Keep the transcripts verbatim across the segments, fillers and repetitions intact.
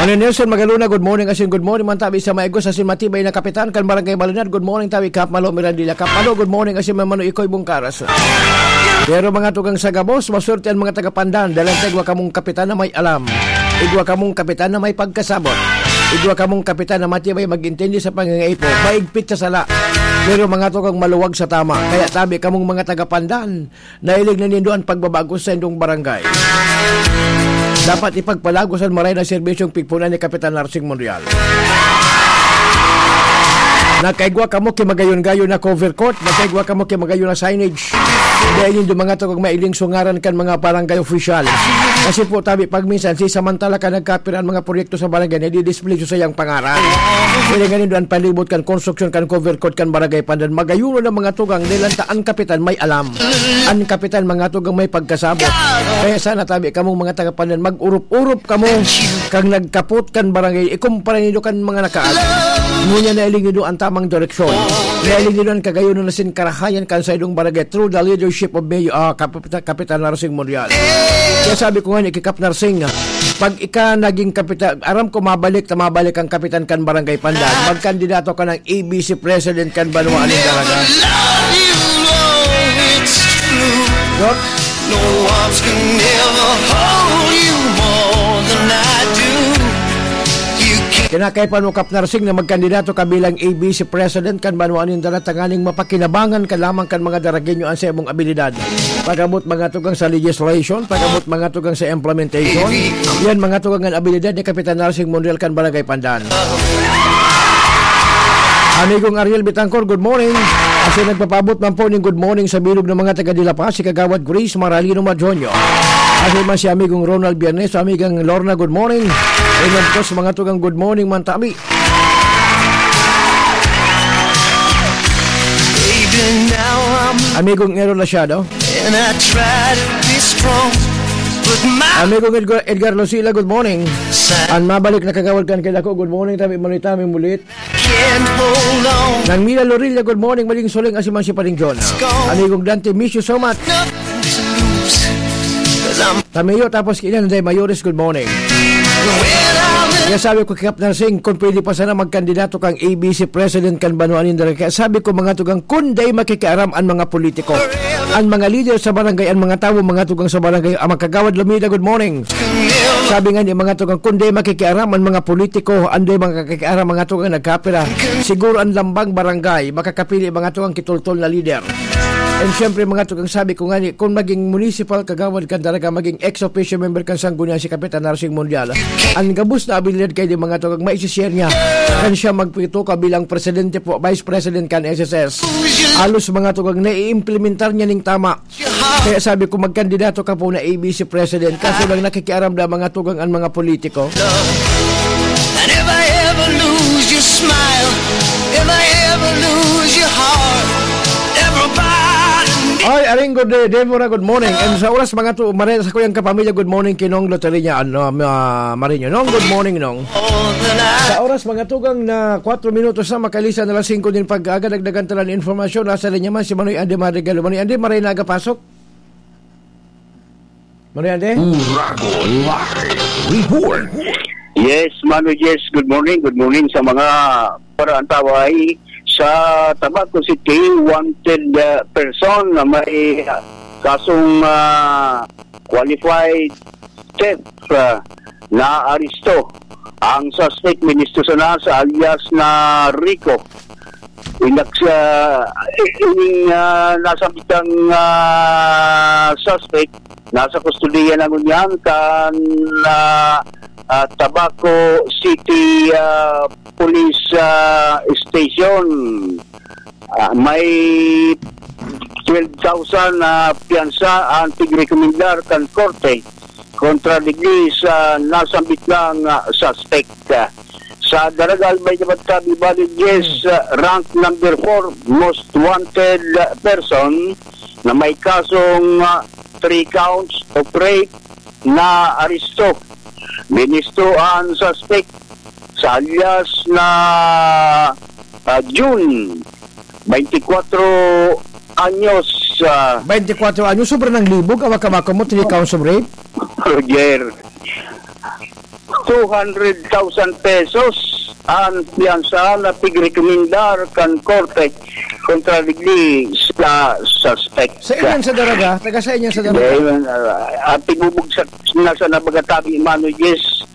Ano, Nelson Magalona, good morning asin good morning man tabi sa maigos asin matibay na kapitan kan Barangay Balinan. Good morning tabi Kap Malo Mirandilla. Kap Malo, good morning asin Mano Ikoy Bungkaras. Pero mga tugang sa gabos, maswerte an mga taga Pandan, dahil ang igwa kamong kapitan na may alam. Igwa kamong kapitan na may pagkasabot. Igwa kamong kapitan na matibay mag-intindi sa pangangaipo, maigpit sa sala. Pero mga tugang maluwag sa tama. Kaya tabi kamong mga taga Pandan, nailing na nindo an pagbabago sa indong barangay. Dapat ipagpalagos an maray na serbisyong pigpunan ni Kapitan Narsing Monreal. Nakaigwa kamo ki magayon-gayon na cover court, nakaigwa kamo ki magayon na signage. Dahil nindo mga tugang mailing sungaran kan mga barangay official. Kasi po tabi pag minsan, si samantala ka nagkapira ang mga proyekto sa barangay, nadidisplay sa iyang pangaran. Kaya nga nindo an palibot kan konstruksyon kan cover court kan barangay Pandan. Magayon na mga tugang, dahil ang ta-, ang kapitan may alam. An kapitan, mga tugang, may pagkasabot. Kaya sana tabi kamong mga taga Pandan, mag-urop-urop kamo kang nagkapot kan barangay, ikumpara nindo kan mga nakaagi. Ngunyan nailing nindo an tamang direksyon. Nailing nindo an kagayonan na sin karahayan kan saindong barangay through the leadership of Mayor, ah, Kapita-, Kapitan Narsing Monreal. Kaya sabi ko nga ni Kikap Narsing, pag ika naging kapitan, aram ko mabalik na mabalik ang kapitan kan Barangay Pandan, magkandidato ka ng A B C President kan Banwa nin Daraga. Love you, oh, it's true. Doc? No arms can ever hold you more than I do. You can Kinakaipan mo, Kap Narsing, na magkandidato ka bilang A B C President kan Banwa nin Daraga tanganing mapakinabangan ka lamang kan mga Daragueño an saimong abilidad. Pag-abot mga tugang sa legislation, pag-abot mga tugang sa implementation. Yan mga tugang an abilidad ni Kapitan Narsing Monreal kan Barangay Pandan. Amigong Ariel Bitangkor, good morning. Asin nagpapaabot man po ning good morning sa bilog ng mga taga Dila Paz, si Kagawad Grace Maralino Madronio. Asin man si amigong Ronald Biernes, amigang Lorna, good morning. And of course, mga tugang good morning man tabi. Baby, now I'm Amigong Ero Lasiado. And I try to be strong, but my Amigong Edgar, Edgar Lucila, good morning. An mabalik na kagawad kan kailan ko, good morning, tabi, manitami mulit. Can't hold on. Nang Mila Lorilla, good morning, maling suling, asin man si Paring John. Amigong Dante, miss you so much. Nothing to lose, 'cause I'm Tameo, tapos kailan, Day Mayores, good morning. When I'm Kaya sabi ko, Kap Narsing, kung pwede pa sana magkandidato kang A B C President kan Banwa nin Daraga. Kaya sabi ko, mga tugang, kun day makikiaram an mga politiko, an mga leader sa barangay, an mga tawo, mga tugang sa barangay, ang mga kagawad Lumida, good morning. Sabi nga ni mga tugang, kun day makikiaram an mga politiko, an day makikiaram mga tugang nagkapira, siguro an lambang barangay, makakapili mga tugang kitultol na leader. And syempre, mga tugang, sabi ko nga ni, kung maging municipal kagawad kan Daraga, maging ex officio member kan Sangguniang si Kapitan Narsing Mondial, an gabos na abilidad kay di mga tugang maisishare niya. Kan siya magpito ka bilang presidente po, vice president kan S S S. Alos mga tugang naiimplementar niya ning tama. Kaya sabi ko, magkandidato ka po na A B C president. Kaso lang nakikiaram na mga tugang ang mga politiko. And if I ever lose your smile, if I ever lose your heart, everybody Ay, Aring, good day, Deborah, good morning. And sa oras mga tu, Maria, sa kuyang kapamilya, good morning, Kinong Loteria, ano, ma, Marino. Nong, good morning, Nong. Sa oras mga tugang na kwatro minutos na, makalisa na alas singko din pag-aga, dagdagan talan informasyon. Nasa linya man si Manoy Andy Madrigal. Manoy Andy, maray na aga pasok. Manoy Andy? Uragon Live Report. Yes, Mano, yes. Good morning. Good morning sa mga paraantaway. Sa Tabaco City, wanted, uh, person na may, uh, kasong, uh, qualified theft, uh, na aresto ang suspect, ministro sana sa alias na Rico. Inaks-, ah, ining, ah, nasambitang, ah, suspect, nasa kustodiya na ngunyan kan, ah, ah, Tabaco City, ah, Police, ah, Station. Ah, may twelve thousand na piyansa ang tigrekomendar kan korte kontra digdi sa nasambit lang, ah, suspect. Sa Daraga Albay naman, tabi bali, yes, ah, rank number four, most wanted, ah, person na may kasong, ah, three counts of rape na aresto. Ministro ang suspect sa alias na, ah, June, twenty-four anyos, ah. Twenty-four anyos, sobra ng libog, awak-awak mo, three counts of rape? Roger. two hundred thousand pesos an piyansa na pigrekomendar kan korte kontra digdi sa suspek. Sa inyan sa Daraga, taga sa inyan sa Daraga. Dahil, ah, at ibubugsak na sa nabagatabi, Mano Jess,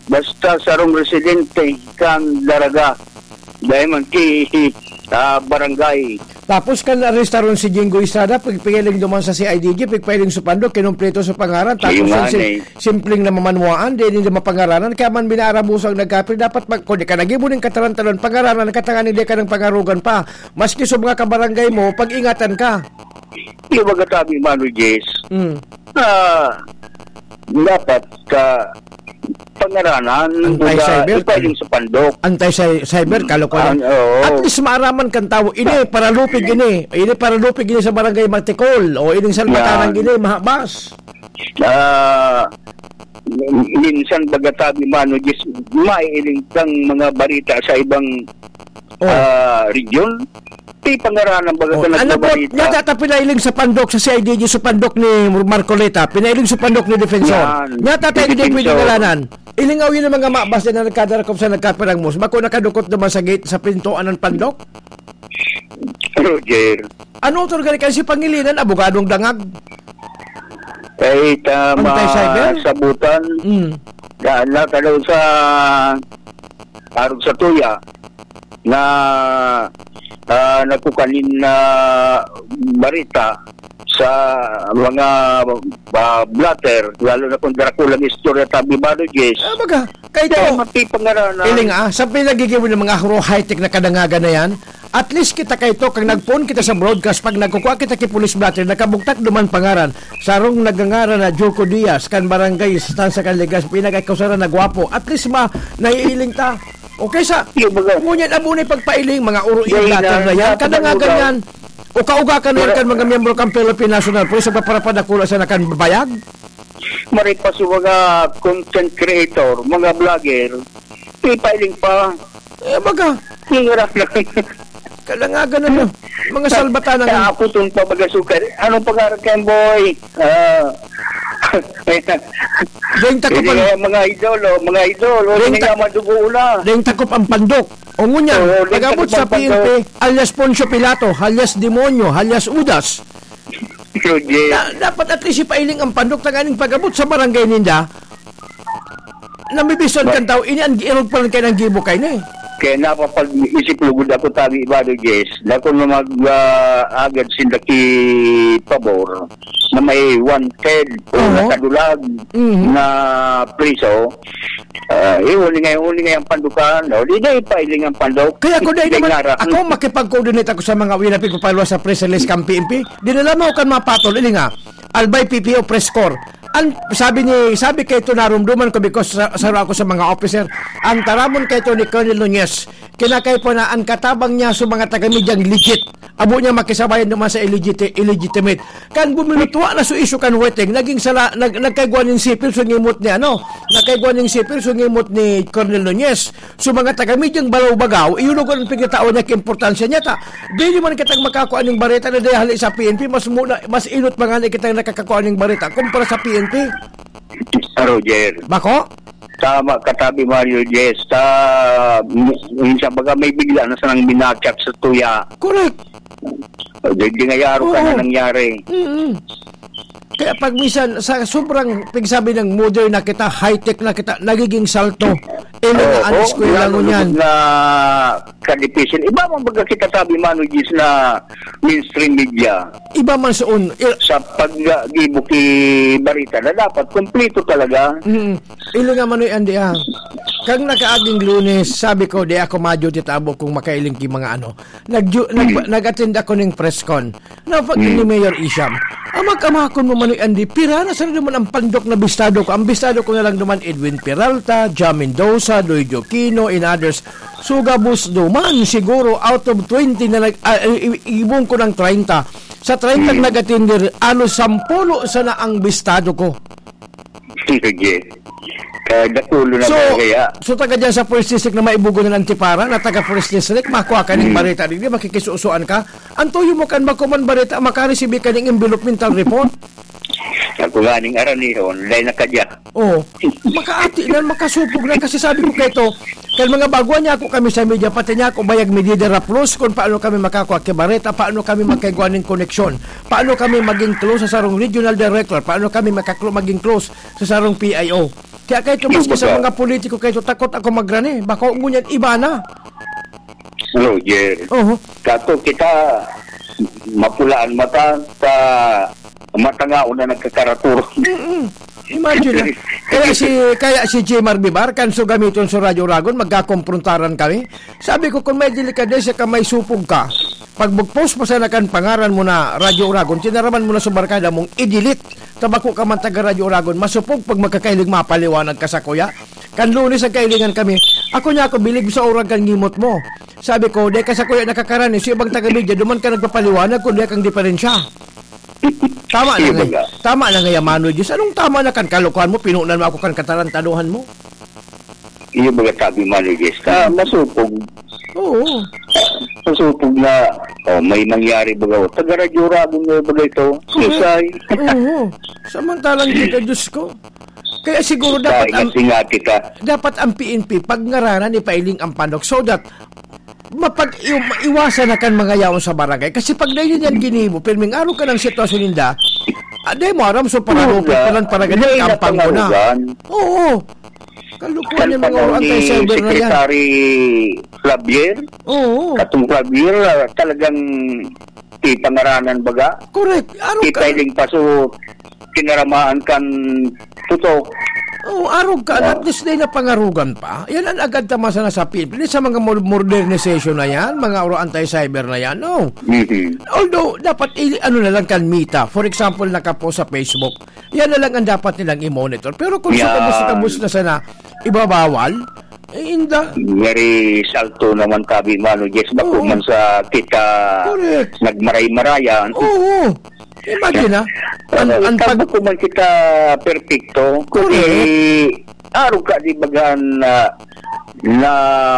basta sarong residente kan Daraga. Dahil man ki, ah, barangay. Tapos kan arestaron si Jinggoy Estrada, pig-, pigpailing duman sa C I D G, pigpailing sa pandok, kinumpleto sa pangaran, tapos Ayun yung nga sim-, eh. simpleng namamanwaan, di nila mapangaranan, kaya man binaarabusang nagkapil, dapat pag, kung di ka nagibo ning katarantalan, pangaranan ka, tanganing di ka nang pangarugan pa. Maski sa mga kabarangay mo, pag-ingatan ka. Yung mga tabi, Mano Jess, Mm. ah, dapat, ah, pangaranan, Anti-cyber, kumbaga, ipailing sa pandok. Anti-cy-, cyber, kalokohan. Ang, oo. At least maaraman kan tawo, ini, paralupig ini. Ini, paralupig ini sa barangay Matikol. O, ining salbatanan Yan. ini, mahabas. Ah, minsan baga tabi, Mano Jess, maiiling kang mga balita sa ibang, Oh. ah, region. Di pangaranan baga Oh, ka ano po, nagbabalita. Niya tatapilailing sa pandok sa C I D G, sa pandok ni Marcoleta, pinailing sa pandok ni Defensor. Yan. Niya tatay Ni hindi pwede Defensor. ngaranan. Ilingaw yun ang mga mabas na nagkadarakop sa nagkapirangmos. Bako nakadukot naman sa gate, sa pintuan ng pandok? Roger. Ano to, gani kasi Pangilinan, abogadong dangag? Eh, tama Pantay cyber? sabutan. Mm. Na, na, sa arog sa tuya na, ah, nagkukanin na barita sa mga, ah, blotter, lalo na kung Dracula ang istorya, tabi, Mano Jess. Ah, baga, kay Kaya to, mapipangaranan. Iling, ah, sa pinagiging ng mga huro high-tech na kadangagan na yan, at least kita kay to, kang nagpoon kita sa broadcast, pag nagkukwa kita kay Police Blotter, nakabugtak duman pangaran, sarong nagangaran na Joko Diaz, kan barangay Estancia, kan Legazpi, nag-ikaw sana nagwapo. At least ma, naiiling ta. Okay sa, Yung mga ngunyan, amo na yung pagpailing, mga uro yung Dahil blotter na na, yan, nasa kadangagan Manila. yan. O kauga ka na yan Wala. kan mga miyembro kan Philippine National Police, sa paparapad na kula sa nakan bayag? Maripas yung mga content creator, mga vlogger, ipailing pa. Eh, baga. Yung nga lang. Kalangagan na, no? Mga salbatanan. Sa aputon pa, baga, sukar. Anong pangarap kayo, boy? Ah. Deng takop Hindi ang nga mga idol, oh, mga idol. O, Deng hindi ta-, nga madugo na. Deng takop ang pandok. O, ngunyan, Oo, deng pag-abot takop sa ang pandok. P N P, alias Poncio Pilato, alias Demonyo, alias Udas. Roger. Na, dapat at least ipailing ang pandok, tanganing pag-abot sa barangay ninda, nabibison Ba- kan tao, ini ang giirog pa lang kayo ng gibo kayo na eh. Kaya napapag-isip lugod ako, tabi, Bado Jess, na kung mag, ah, agad sinda ki pabor na may wanted o Oho. nakadulag Mhm. na priso, ah, eh, huli nga, huli nga yung pandukan, no? Di na ipailing ang pandok. Kaya ako, dahil Di naman, nga ra- ako makipag-coordinate ako sa mga uwi na pigpapalwa sa press release kang P N P. Dinala mo kan mga patol, ini nga, Albay P P O Press Corps. An, sabi ni, sabi kay ito, narumduman ko because sa, sa ako sa mga officer, ang taramon kay ito ni Colonel Nunez, kinakay po na ang katabang niya sa mga taga-media legit. Abo niya makisabayan naman sa illegiti-, illegitimate. Kan buminutwa na so issue kan Weteng, naging sala, nag-, nagkaigwa ning sipil, so ngimot ni ano, nagkaigwa ning sipil, so ngimot ni Colonel Nunez. So, mga taga-medyang balaw-bagaw, iyo lugar ang pagkatao niya, kaimportansya niya ta. Dili man kitang makakua ning bareta na dahil sa P N P, mas muna, mas inot pa nga na kitang nakakakua ning bareta kumpara sa P N P. Ah, Roger. Bako? Tama ka, tabi, Mario Jess. Sa, minsan baga may bigla na sanang binakyak sa tuya. Correct. O, di, di nga yaro ka Oo. na nangyari. Mm-mm. Kaya pag minsan, sa sobrang pigsabi ng modern na kita, high-tech na kita, nagiging salto. Eh, Oo, mga anak eskwela yun, ngunyan. Na kadipisin. Iba man baga kita sabi, Mano Gis, na mainstream media. Iba man soon. I- Sa pag-, ah, gibo ki barita na dapat kompleto talaga. Mm. Ili nga, Manoy Andy, ah. Kang nakaaging Lunes, sabi ko, di ako madyo titabo kung makailing ki mga ano. Nagju-, nag-, Mm. nag-attend ako ning press con. Na pag Mm. ni Mayor Isham, amak-amakon mo, Manoy Andy, pira na sana naman ang pandok na bistado ko. Ang bistado ko na lang naman, Edwin Peralta, Jam Mendoza, Lloyd Aquino, and others. Sugabos duman, siguro, out of twenty na nag-, ah, i-, i-, ibon ko ng treinta. Sa treinta Mm. nag-attend, alos sampulo sana ang bistado ko. Sige. Kaya dakulo na So, kaya. so taga dyan sa First District na maibugo ng Antipara, na taga First District, makuha ka ning Hmm. bareta, di ba, makikisusuan ka? Ang tuyo mo kan makuman bareta, makaresibi ka ning envelopmental report? Ako ganing aranihon, dai na kadya. Oh, makaati na, makasupog na. Kasi sabi ko kaito, kan mga baguan niya ako kami sa media, pati niya ako bayag mi didaraplos kung paano kami makakua ki bareta, paano kami magkaigwa ning koneksyon, paano kami maging close sa sarong regional director, paano kami makaklo-, maging close sa sarong P I O. Kaya kaito, maski sa mga politiko kaito, takot ako magrani. Bako ngunyan iba na. Roger. Oho. Kato kita, mapulaan mata, sa matangao na nagkakaraturong. Mm-mm. Imagine, ah. Kaya si, kaya si Jemar Bibar, kan so gamiton sa Radyo Uragon, magkakomprontaran kami. Sabi ko, kung may delikadesa ka, may supog ka, pag mag-post pa sana kan pangaran mo na Radyo Uragon, tinaraman mo na sa barkada mong i-delete. Tabako ka man taga Radyo Uragon, masupog pag magkakailing mapaliwanag ka sa kuya. Kan Lunes ang kailingan kami, ako niya ako, bilib sa urag kan ngimot mo. Sabi ko, "Dai ka sa kuya nakakarani, sa ibang taga-media, duman ka nagpapaliwanag kung dai kang diferensya." Tama na Iyo nga, baga. Tama na nga, Mano Diyos. Anong tama na kan kalokohan mo? Pinunan mo ako kan katarantaduhan mo? Iyo baga sabi, Mano Diyos. Ka, Hmm. masupog. Oo. Masupog na, oh, may nangyari baga. Oh, taga Radyo Uragon nga baga ito. Correct. Susay. Oo. Samantalang kita, Diyos ko. Kaya siguro dapat Dahil ang, nga singa kita. dapat ang P N P, pag ngaranan, ipailing ang panok so that mapag-, iw-, maiwasan na kan mga yaon sa barangay. Kasi pag dahil yan ginibo, pirming araw ka ng sitwasyon ninda, ah, di mo aram, so paralupit Wala. pa lang, paragaling, Hindi na kampang mo na. pangarugan. Oo. Kalukuhan Kan yung mga panahon ni anti-cyber na yan. Secretary Clavier, Oo. katong Clavier, ah, talagang ipangaranan baga. Correct. Arog ka. Ipailing pa, so, tinaramaan kan putok. Oo, arog ka. Oo. At this day na pangarugan pa. Yan ang agad ta masana sa P N P. Sa mga mo-, modernization na yan, mga oro anti-cyber na yan, no? Mhm. Although, dapat, i-, ano na lang kan mita. For example, nakapost sa Facebook. Yan na lang ang dapat nilang i-monitor. Pero kung Yan. sukabos-kabos na sana, ibabawal, eh, inda. Very salto naman tabi, Mano Jess. Bako Oo. man sa kita Correct. nagmaray-marayan. Oo. Imagine, ah. An-, Ano, an-, pag- bako man kita perpekto, Correct. kundi arog ka di bagan na, na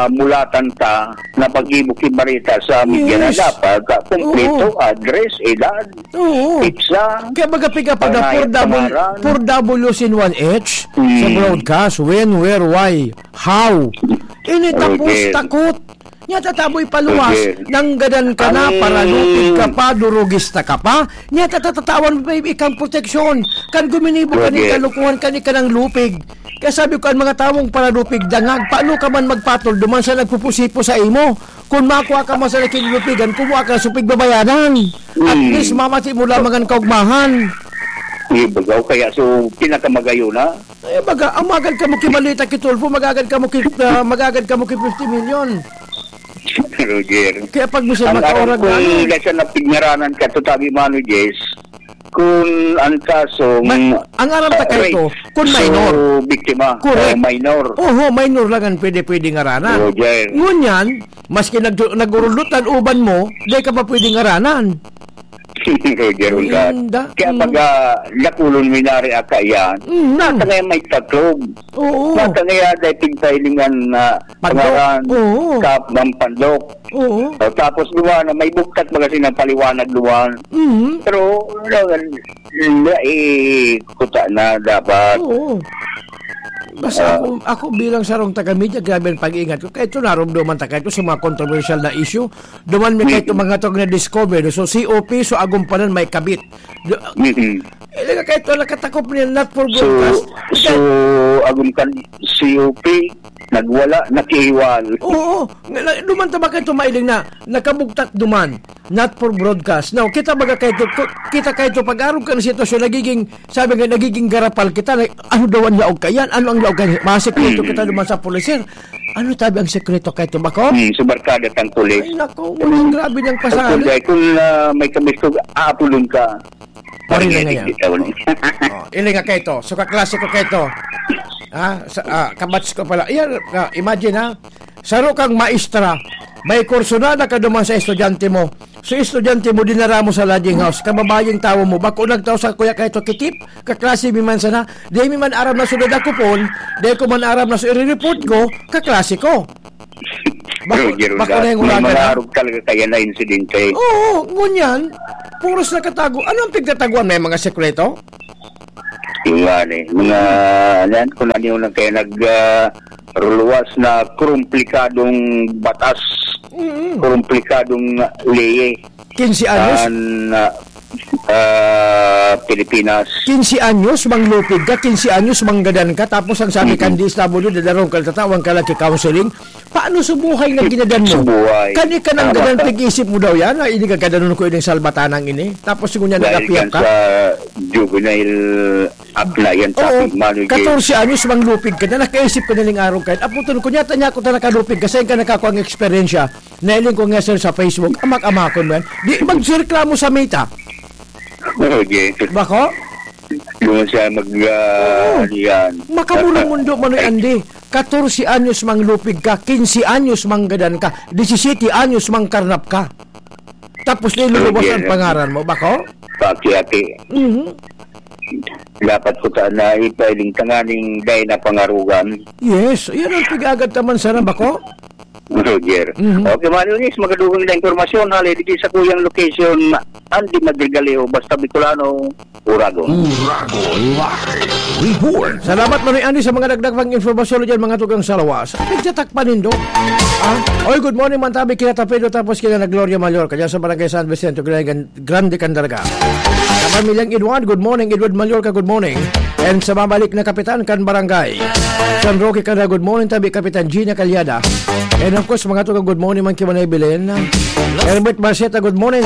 mulatan ta na pag-ibo ki bareta sa media na Yes. dapat, ah, kompleto, Oo. address, edad, Oo. pizza, Kaya baga piga pa na pangalan, four W, pangalan. four Ws in one H sa Hmm. broadcast. When, where, why, how. Ini tapos Okay. takot. Nya tataboy paluwas, Okay. nanggadan ka na, Ang paralupig ka pa, durugista ka pa. Nya tatatatawan pa ikang proteksyon. Kan guminibo ka ni Roger. kalukuhan ka ni kanang lupig. Kaya sabi ko, ang mga tawong paralupig, dangag, paano ka man magpatol, duman sa nagpupusipo sa imo? Kung makua ka man sa nakikilupigan, kumuha ka sa pigbabayanan. At Hmm. least, mamati mo lamang ang kaugmahan. Di ba, kaya so, pinakamagayo na? Eh, baga, ang magad ka mo ki Malita, ki Tulfo, magagad ka mo ki, ah, magagad ka mo ki fifty million. Roger. Kaya pag mo siya Ang aram makaorag kong na, ano? dahil sa napignaranan ka, to tabi, Mano Jess, kung ang kasong, Ma-, ang aram ta ah, kayo to, rape kung so minor. biktima, Correct. o minor. Oho, minor lang ang pwede-pwede ngaranan. Roger. Ngunyan, maski nag-, nag-urulutan uban mo, di ka pa pwede ngaranan. Roger Ulgat. Inda. Kaya Mm. pag, ah, dakulon minari aka yan, Mm. nasa ngayon may taklog. Oo. Nasa ngayon dahil pigpailingan na Pandok. pangaran, Oo. kap ng pandok. Oo. O, tapos duwa na may buktak baga sinang paliwanag duwa. Mm. Pero, wala, wala, eh, kuta na dapat. Oo. Basta Ah. ako, ako bilang sarong taga-media, grabe ang pag-iingat ko. Kaya ito, narumduman ta kayo sa mga controversial na issue. Duman mi Mm. kaito mga tog na discover. So, C O P, so agumpanan may kabit. Do, Mm-mm. Ili nga kaito, nakatakop niya, not for So, broadcast. so, agum kan C O P, nagwala, nakihiwal. Oo. Nga, na, duman ta ba kaito mailing na nakabugtak duman? Not for broadcast. Now, kita baga kaito, ku-, kita kaito pag-arog ka ng sitwasyon, nagiging, sabi nga, nagiging garapal kita. Na, ano daw ang laog ka yan? Ano ang laog ka yan? Masikreto Mm. kita duman sa pulis, sir. Ano tabi ang sekreto kaito, bako? Hmm, sa barkada tang pulis. Ay, naku, ngunyan grabe niyang Ang pasali. kulay, kung, ah, may kabistog, aapulon ka. Pare na Parang ngayon. hindi ka ulit. Oh, ili nga kaito. So, kaklase ko kaito. Ha? Sa, ah, kabats ko pala. Iyan, ah, imagine, ha? Saro kang maestra. May kurso na nakaduman sa estudyante mo. So, estudyante mo, dinara mo sa lodging house. Kababayeng tawo mo. Bako nagtao sa kuya kaito, kitip. Kaklase mi man sana. Di mi man aram na so dadakopon, di ko man aram na so i-report ko, kaklase ko. Bako, Roger, bako Roger, na yung may uragan, mga ha? arog talaga kaya na insidente. Oo, ngunyan, puros nakatago. Ano ang pigtataguan? May mga sekreto? Yung nga ni, mga, ano yan, kung ano yung nagkaya nag, ah, ruluwas na komplikadong batas, Mm. komplikadong leye. Quince anyos? An, ah, ah, Pilipinas. Quince anyos, manglupig ka, quince anyos, manggadan ka, tapos ang sabi kan Mm-mm. D S W, dadarong ka, tatawan ka lang ki counseling. Paano subuhay nga ginadan mo? Subuhay. Kani ka nang Tama gadan, ka. Pag-isip mo daw yan, na ini gagadanon ko ining salbatanang ini. Tapos, sigun niya, Dahil nag-apiyap yan ka? Sa juvenile act na yan, Oo, sabi, Manoy J. Katorse anyos, manglupig ka na, nakaisip ka na ning araw kahit. Aputon ko, nyata niya ako ta nakalupig, kasi ka nakakuha ang eksperyensya. Nailing ko nga, sir, sa Facebook, amak-amakon mo yan. Di, magreklamo sa Meta. Okay. Bako? Yung siya mag, ah, Oo. Ano yan. Makamurang mundo, Manoy Andy. Katorse anyos manglupig ka, quince anyos manggadan ka, disisete anyos mangkarnap ka. Tapos niluluwas Okay, ang yeah. Pangaran mo, bako? Paki-aki. Mhm. Dapat ko ta na ipailing tanganing dai na pangarugan. Yes, yan ang pag-agad naman sana, bako? Roger. Mhm. Okay, Manoy Nis, magadugang na impormasyon. Hali, di sa kuyang location, Andy Madrigaleho, basta Bicolano, Uragon. Uragon Live Report. Salamat, Manoy Andy, sa mga dagdag pang impormasyon dyan, mga tugang sa lawas. Pagtatak pa nindo. Ah? Oy, good morning, Mantabi, kina Tapedo, tapos kina na Gloria Mayor, kaya sa Barangay San Vicente, Gran-, Grande Candaraga. Sa pamilyang Edward, good morning. Edward Mallorca, good morning. And sa babalik na kapitan kan barangay, San Roque Candaraga, good morning, tabi Kapitan Gina Calyada. And of course, mga tugang, good morning, man Kimanay Belen. Herbert Marceta, good morning.